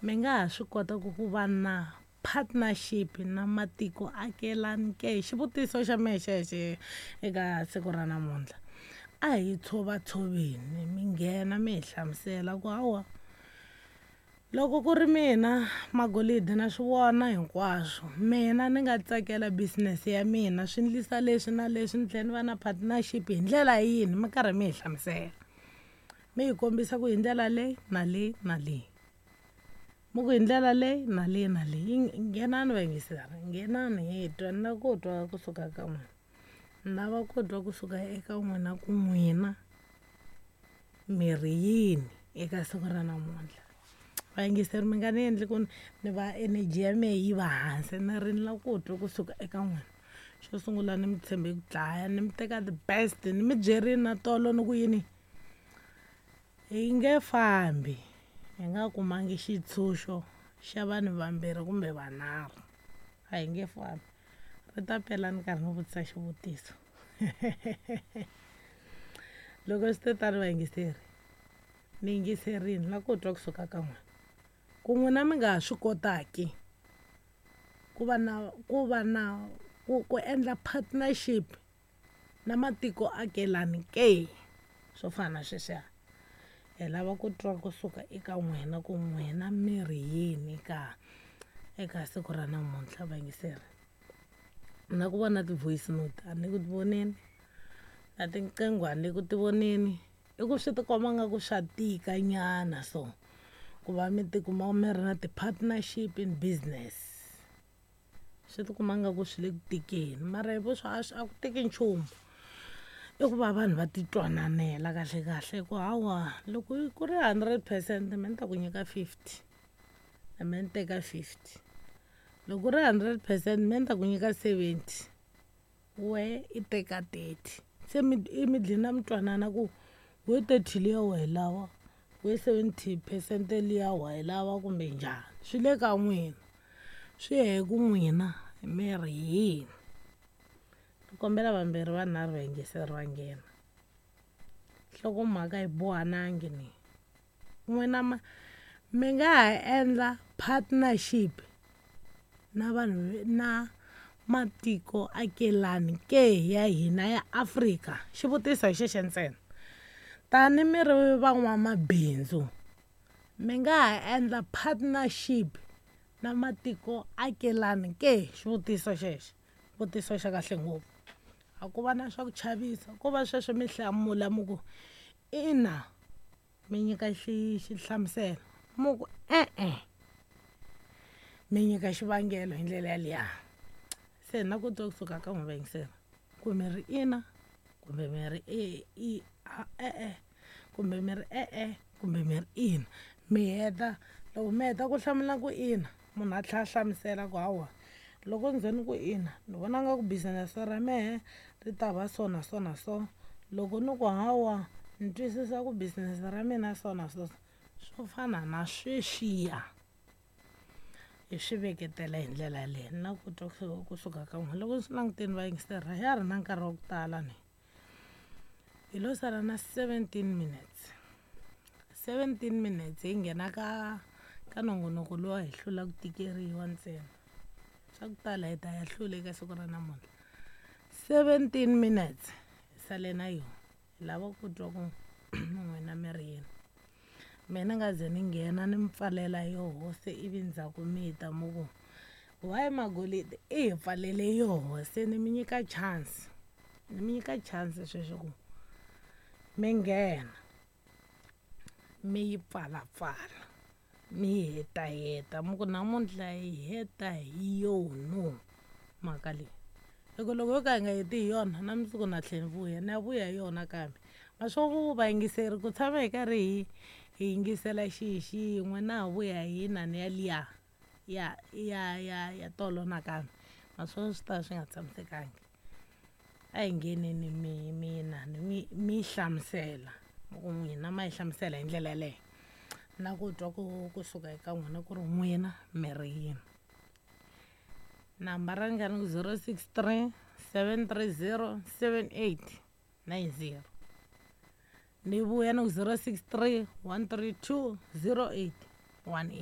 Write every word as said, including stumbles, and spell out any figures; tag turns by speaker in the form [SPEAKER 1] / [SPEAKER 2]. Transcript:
[SPEAKER 1] Mi nga ha swi kota ku ku va na partnership na matiko akelani ke? Xivutiso xa mehe xexe eka siku ra namuntlha. A hi tshovatshoveni mi nghena mi hi hlamusela ku hawa, loko ku ri mina Magolidi na swi vona hinkwaswo, mina ni nga tsakela business ya mina swi ndlisa leswi na leswi ni tlhela ni va na partnership hi ndlela yini, mi karhi mi hi hlamusela. Mi hi kombisa ku hi ndlela leyi na leyi na leyi, mi ku hi ndlela leyi na leyi na leyi. Nghenani vayingiseri, nghenani hi twa ni lava ku twa kusuka ka n'wina, ni lava ku twa kusuka eka n'wina ku n'wina mi ri yini eka siku ra namuntlha. Vayingiseri mi nga ni endli ku ni va energy ya mehe yi va hansi, ni ri ni lava ku twa kusuka eka n'wina. Xo sungula ni mi tshembe ku dlaya, ni mi teka the best, ni mi byerini na tolo ni ku yini, hi nge fambi hi nga kumangi xitshunxo xa vanhu vambirhi kumbe vanharhu, a hi nge fambi. Ri ta pela ni karhi ni vutisa xivutiso. Loko swi te tano vayingiseri, ni yingiserini ni lava ku twa kusuka ka n'wina, ku n'wina mi nga ha swi kotaki ku va na ku va na ku ku endla partnership na matiko akelani ke, swo fana na sweswiya. Hi lava ku twa kusuka eka n'wina ku n'wina mi ri yini ka eka siku ra namuntlha vayingiseri. Na ku vona ti-voice note a ni ku ti voneni, na tinqingho a ni ku ti voneni, i ku swi ti komba nga ku swa tika nyana so, ku va mi tikuma mi ri na ti-partnership in business. Swi ti kuma nga ku swi le ku tikeni, mara hi vuswa a swi a ku tiki nchumu. I ku va vanhu va ti twananela kahle kahle ku hawa loko ku ri hundred percent me ni ta ku nyika fifty, na me ni teka fifty. Loko ku ri hundred percent me ni ta ku nyika seventy, wehe i teka thirty. Se mi i mi dlina mi twanana ku we thirty liya wa yi lava, we seventy percent liya wa yi lava kumbe njhani, swi le ka n'wina, swi ya hi ku n'wina mi ri yini. Ni kombela vambirhi vanharhu vayingiseri va nghena. Nhlokomhaka yi bohanangi ni, n'wina ma mi nga ha endla partnership na vanhu na matiko akelani ke ya hina ya Afrika? Xivutiso hi xexo ntsena. Tani mi ri van'wamabindzu, mi nga ha endla partnership na matiko akelani ke? Xivutiso xexo, xivutiso xa kahle ngopfu. A ku va na swa ku chavisa, ko va sweswo mi hlamula mi ku ina, mi nyika xi xihlamuselo, mu ku e-e, mi nyika xivangelo hi ndlela yaliya. Se na ku twa kusuka ka n'wina vayingiseri, ku mi ri ina kumbe mi ri e i e-e, kumbe mi ri e-e kumbe mi ri ina. Mi heta, loko mi heta ku hlamula ku ina, munhu a tlhela a hlamusela ku hawa, loko ni ze ni ku ina, ni vona nga ku business ra mehe ri ta va so na so na so, loko ni ku hawa, ni twisisa ku business ra mina so na so, swo fana na sweswiya. Hi swi veketela hi ndlela yaleyo, ni lava ku twa kusuka ka n'wina. Loko ni swi langutini vayingiseri a ya ha ri na nkarhi wa ku tala ni, hi lo sala na seventeen minutes. seventeen minutes hi nghena ka ka nongonoko lowa hi hlula ku tikeriwa ntsena. Swa ku tala hi ta ya hlula eka siku ra namuntlha. seventeen minutes hi sale na yona, hi lava ku twa ku n'wina mi ri yini. Mina ni nga ze ni nghena ni mi pfalela yoho se ivi ndzhaku mi ta mi ku why Magolidi i hi pfalele yoho, se ni mi nyika chance, ni mi nyika chance sweswi ku mi nghena mi yi pfalapfala, mi yi hetaheta, mi ku namuntlha hi heta hi yono mhaka leyi. Hi ku loko yo ka hi nga heti hi yona na mundzuku na tlhela ni vuya, ni ya vuya hi yona kambe. Ma swo ku vayingiseri ku tshama hi karhi hi hi yingisela xi xin'we na ha vuya hi inani yaliya ya ya ya ya tolo nakambe, ma swo swi ta swi nga tshamisekangi. A hi ngheneni mi mi inani mi mi hlamusela, ku n'wina ma yi hlamusela hi ndlela yaleyo. Na ku twa ku kusuka eka n'wina ku ri n'wina mi ri yini. Nambara ni nga ni zero six three seven three zero seven eight nine zero. Ni vuya ni ku zero six three one three two zero eight one eight.